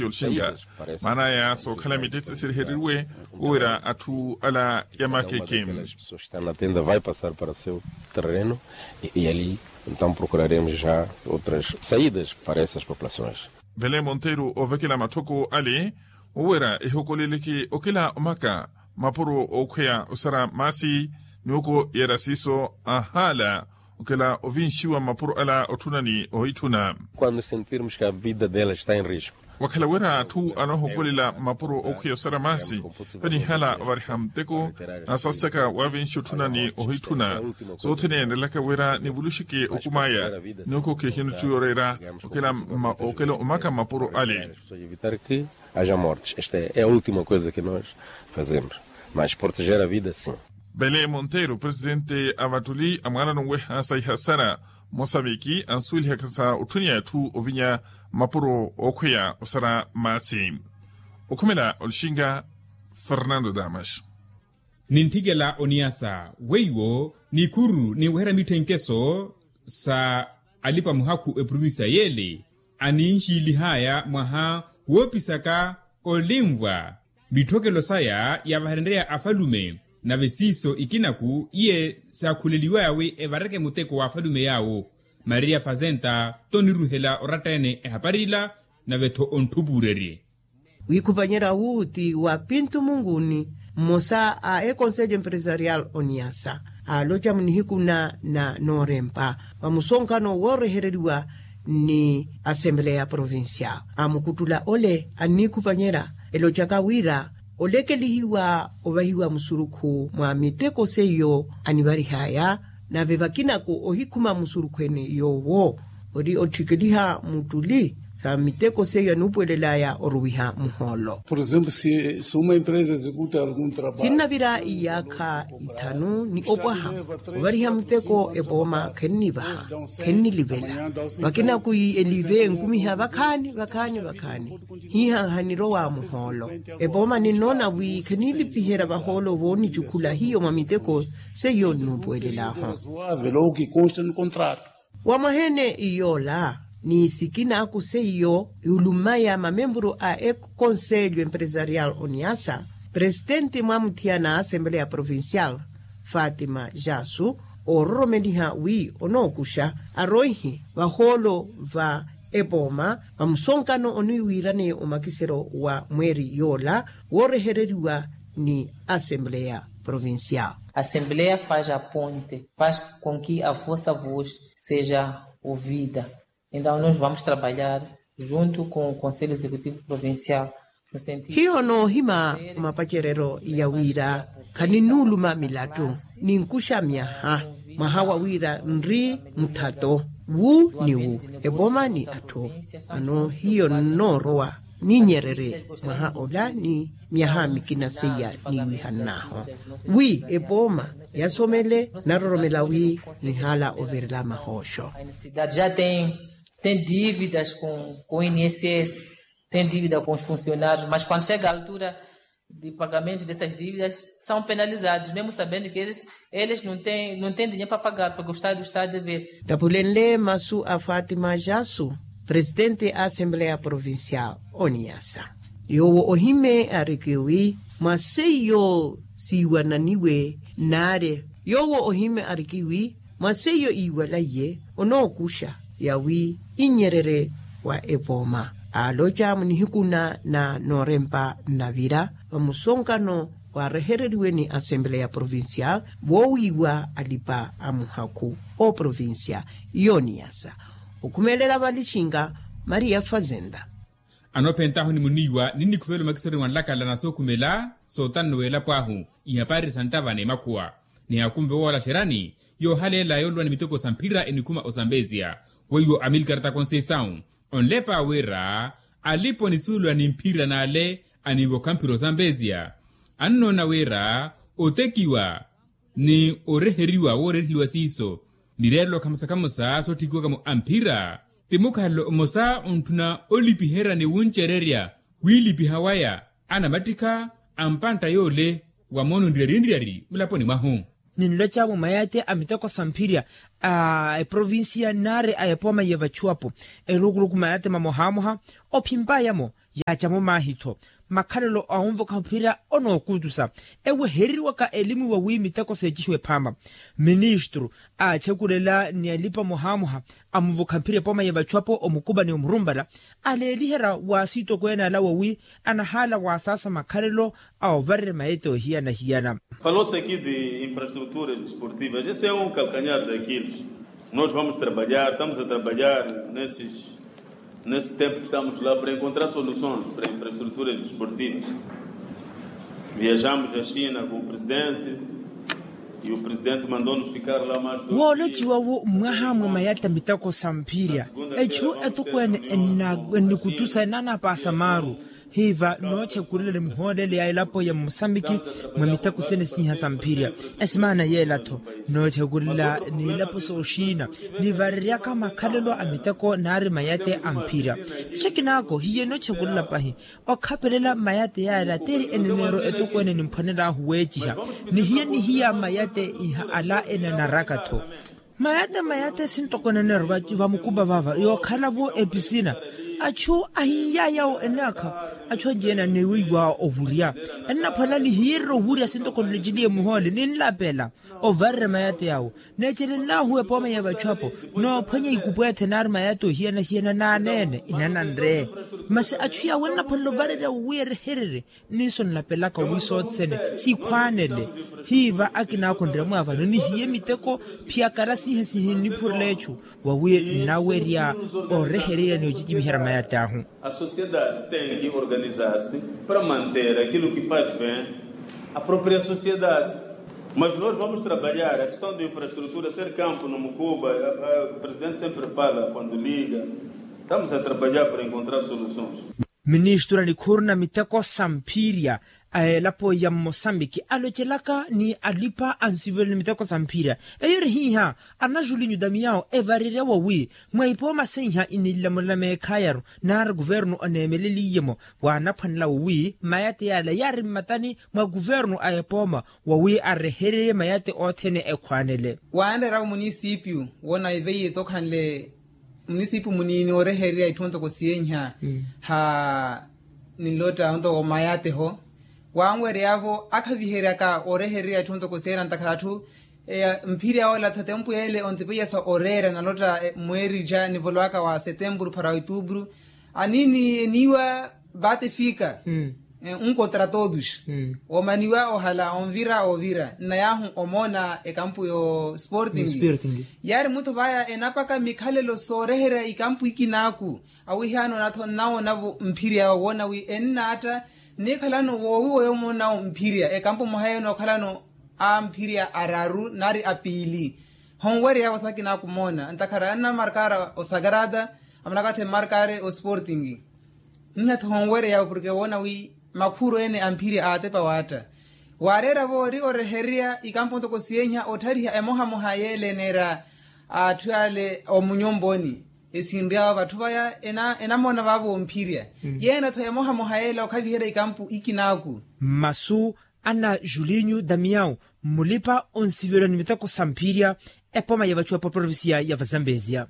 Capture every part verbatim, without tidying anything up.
Olxinka maana aya sookhala mitetse siriheriwe wira atthu ala ya makeke. Vai passar para o seu terreno e ali então procuraremos já outras saídas para essas populações. Vele monteiro ovekela matthoko ale wira ehokoleleke okela omaka mapuro ookhweya osara maasi. Ni oko yera siiso ahaala okela ovinxiwa mapuro ala otthuna ni ohitthuna. Quando sentirmos que a vida dela está em risco. Wakhala wira atthu anoohokolela mapuro okhweya osara maasi vanihala ovariha muteko. Nasasaka wavinxi otthuna ni ohitthuna sothene enrelaka wira nivuluxeke okumaya. Ni oko khehino ttiyorera okela omaka mapuro ale. Evitar que haja mortes esta é a última coisa que nós fazemos, mas proteger a vida sim. Vele monteiro presidente a vattuli a mwaanano nweha sa ihasara mosambiki ansuwelihaka sa otthuniya atthu ovinya mapuro ookhweya osara maasi. Okhumela olixinka fernando damas. Nintthikela oniyasa weiwo nikuru ninweherya mitthenkeso sa alipa muhakhu eprovincia yele aninxiilihaya mwaha woopisaka olinvwa mitthokelo saya yavaherenreya afalume. Nave siiso ikinaku iye saakhuleliwaya wi evareke muteko wa afalume yaawo maria fazenta toniruhela oratta-ene ehapari ila nave-tho ontthupuurerye. Wiikhupanyerya wu ti wa pintu munguni mmosa a ekonselho empresarial oniyasa aaloca munihiku na na noorempa vamusonkano woorehereriwa ni asembleya provincial amukuttula ole anniikhupanyerya elocaka wira olekelihiwa ovahiwa musurukhu mwa miteko seiyo anivarihaya nave vakinaku ohikhuma musurukhu ene yoowo ori otthikeliha muttuli sa miteko seiyo anuupuwelelaya oruwiha muhoolo. Por exemplo si uma empresa executa algum trabalho sinnavira iyaakha ithanu ni opwaha ovariha muteko epooma khennivaha khennilivela vakinaku elive enkumiha vakhaani vakhaani vakhaani hiihaha nirowa muhoolo epooma ninnoona wi kheniilipiherya vahoolo voonicukhula hiyo mwa miteko seiyo nnuupuwelelaho. Wa mwaha ene yoola ni sikinaku seiyo yulumaya mamempuru a ekonselho empresarial oniasa presitenti mwamuthiyana a asembleya provincial fatima jasu oororomeliha wi onookuxa aroihi vahoolo va epooma vamusonkano oniwiiraneya omakiseryo wa mweeri yoola woorehereriwa ni asembleya provincial. Asembleya faz a ponte faz com que a vossa voz seja ouvida. Então nos vamos trabalhar junto com o conselho executivo provincial no sentido hiyo noohima mapacereryo ya wira khaninuuluma milattu ninkuxa myaha mwaha wa wira nri muthato wu ni wu epooma ni atthu ano hiyo nnoorowa ninyererye mwaha ola ni myaha mikina seiya niiwihannaahu wi epooma yasomele naroromela wi nihaala ovirela mahooxo. Tem dívidas com o inss, tem dívida com os funcionários mas quando chega a altura de pagamento dessas dívidas são penalizados mesmo sabendo que eles não tem dinheiro para pagar porque o estado está a dever. Tapulenle masu a fatima jasu presitenti a asembleya provincial oniasa yoowo ohime ariki wi mwa seiyo siiwananiwe naari yoowo ohime ariki wi mwa seiyo iiwalaiye onookuxa yawi inyererye wa epooma aaloca munihiku na na noorempa nnavira vamusonkano waarehereriwe ni asembleya provincial voowiiwa alipa a muhakhu ooprovincia yooniyasa okhumelela valixinka maria fazenda. Anoophentahu ni muniiwa ninnikhuvela omakisori mwa nlakala na sookhumela sootanno w'elapo ahu ihapari sa nttava n'emakhuwa ni akunve woola xerani yoohaleela yooluwa ni miteko sa mphira enikhuma osambesia weiwo amilkar ta conceição onlepa wira alipo nisuulwa ni mphira n'ale aninvokha mphira osambesia annoona wira otekiwa ni oreheriwa wooreeriheliwa siiso mireerelo khamosa-khamosa soottikiwaka-mo a mphira ti mukhalelo mmosa ontthuna olipiherya ni wuncererya wiilipiha waya anamattikha a mpantta yoole wa moono nriyari-nriyari mulaponi mwahu. Ninloca-mo mayaati a miteko sa mphirya a eprovincia nari a epooma ya vachuwapo, eluukuluku mayate mamohamoha ophimpaya-mo, yaacamo maahi-tho makhalelo a onvokha mphira onookutusa. Ewehereriwaka elimu wa wi miteko seecihiwe phaama. Ministru aachekurela ni alipa mohamoha amunvokha mphira epooma ya vachuwapo omukuba ni omurumbala aleeliherya wa asiitokweene ala wa wi anahaala wa asaasa makhalelo a ovarerya mayete ohiyana-hiyana. Falou-se aqui de infraestruturas desportivas, esse é um calcanhar de aquiles. Nós vamos trabalhar, estamos a trabalhar nesses nesse tempo que estamos lá para encontrar soluções para infraestruturas desportivas. Viajamos a china com o presidente e o presidente mandou-nos ficar lá mais dois dias. Woolociwawo mwaha mwa mayata miteko sa mphirya, echu etokweene ennikutusa enanapasa maaru. Hiiva noochekurela ni muhoolele ya elapo ya mosambiki mwa miteko sene siiha sa mphirya. Esimaana yeela-tho noochekurela ni elapo sooxiina nivareryaka makhalelo a miteko nari mayate a mphirya. Echo ekinaako hiye noochekurela pahi okhapelela mayate yaala tiri eneneero etokweene nimphwanelahu weeciha. Nihiye nihiya mayate iha ala enanaraka-tho. Mayate mayate sintoko eneneero vamukupa vava yookhala-vo episina. Achu ahinyaya yawo enaakha achu anci-ene aniweiwa ovurya. Ennaphwala nihiyererya ovurya sintoko nloceliye muhoole ninlapela ovarerya mayate yawo. Neecelenlahu epooma ya vachu apo noophwanya ikupweethe nari mayate ohiyana-hiyana n'aneene inananre. Masi achu yawo ennaphwanela ovarerya wi erehererye. Niiso nlapelaka wi sothene sikhwaanele. Hiiva akinaako nremwa vano nihiye miteko phiyakala siihe sihinniphurela echu wawi nnawerya orehererya ni ocicimiherya mayate ahu. A sociedade tem que organizar-se para manter aquilo que faz bem a própria sociedade. Mas nós vamos trabalhar a questão de infraestrutura ter campo no mukuba. O presidente sempre fala quando liga. Estamos a trabalhar para encontrar soluções. Ministru anikhuruna miteko sa mphirya a elapo ya mmosambiki alocelaka ni alipa ansivelo ni miteko sa mphirya. Eyo eri hiiha anajulinyu damiyawo evarerya wawi mwa ipooma seiha inilamula meekhayaru nari kuvernu oneemeleliye-mo. Waanaphwanela wawi mayate yaala yaari mmatani mwa kuvernu a epooma wawi arehererye mayate othene ekhwaanele. Waanreera-vo munisipiyu wona iveiye tokhanle munisipu muniini orehererya itthu ontoko siyenha ha ninlotta ontoko mayateho. Wanweryavo akhaviheryaka orehererya itthu ontoko siyenha ntakhala atthu mphirya ola tha tempu ele ontipeyasa oreera nalotta mweerija nivolowaka wa setempuru para oitupuru. Aniini eniiwa vate fika. Nkotra todos omaniwa ohala onvira ovira nnayahu omoona ekampu yo sporting. Yaari muttho vaya enapaka mikhalelo sooreherya ikampu ikinaku awihiyaano natho nnawoonavo mphirya owoona wi ennaatta. Nnikhalano woowiwa yomoonawo mphirya ekampu mwaha yeene okhalano a mphirya araru nari apiili. Honweryavo tho akinaku moona ntakhara annamarkara osakarata amanakathe mmarkare osporting. Nnihatho honwereya porke woona wi makhuro ene a mphirya aatepa waatta. Waareera voori orehererya ikampo ntoko siyenha otthariha emohamoha yeele eneera atthu ale omunyomponi esinryawo vatthu vaya enamoona vaavo omphirya. Yeena-tho emohamoha yeele okhaviherya ikampo ikinaaku. Mmasu ana julinyu damiyawu mmulipa onsivela ni miteko sa mphirya. Epoma ya vachu epo provincia ya vazambezia.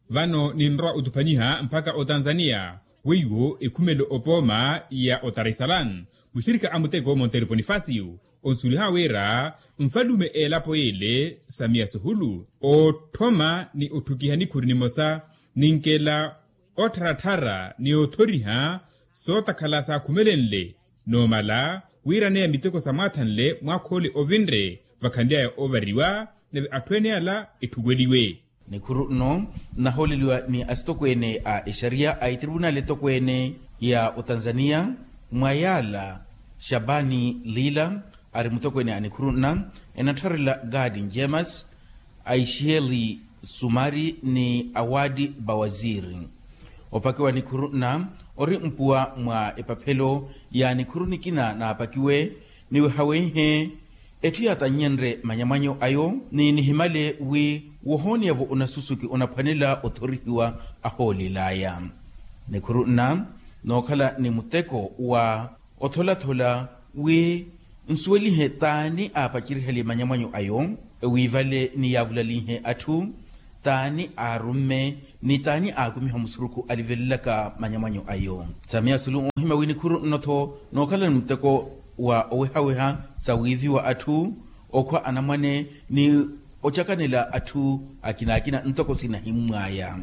Vano ninrowa otupanyiha mpakha otanzania weiwo ekhumelo opooma ya otaresalan muxirikha a muteko monteru ponifasiyu onsuliha wira nfalume elapo yele samiya suhulu otthoma ni otthukiha nikhuri nimosa ninkela ottharatthara ni othoriha sootakhala saakhumelenle noomala wiraneya miteko samwaathanle mwaakhoole ovinre vakhanlyaya ovariwa nave atthu ene ala etthukweliwe. Nikhuru nno nnahooleliwa ni asitokweene a exariya a etripunaali etokweene ya otanzania mwa yaala xabani lila ari mutokweene a nikhuru nna enattharela gadi njemas aixiyeli sumari ni awadi bawaziri. Opakiwa nikhuru nna ori mpuwa mwa epaphelo ya nikhuru nikina naapakiwe niwehawenhe etthu yaatannyenre manyamwanyo ayo ni nihimale wi wohooniyavo onasusuki onaphwanela othorihiwa ahoolelaya. Nikhuru nna nookhala ni muteko wa otholathola wi nsuwelihe taani aapacirihaliye manyamwanyo ayo. Wi vale ni yaavulalinhe atthu t'ani aarumme ni t'ani aakumiha musurukhu alivelelaka manyamwanyo ayo. Samiya sulu oohimya wi nikhuru nno-tho nookhalani muteko wa owehaweha sa wiiviwa atthu, okhwa anamwane ni ocakanela atthu akinaakina ntoko sinahimmwaya.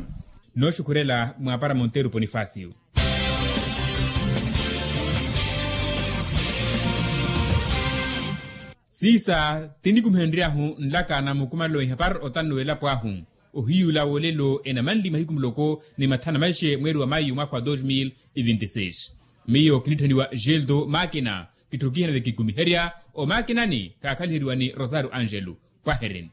Nooxukhurela mwaapara monteru ponifasiyo. Siisa tinikumihenryahu nlaka na mukumalo ihapari otanno w'elapo ahu. Ohiyula wolelo enamanli mahiku muloko ni mathana maixe mweeri wa mayu mwaka wa dos mil e vinti seis. Miyo kinitthaniwa geldo makina. Kitthukihana ni kikumiherya omakinani kaakhaliheriwa ni rosario angelo. Pwahereni.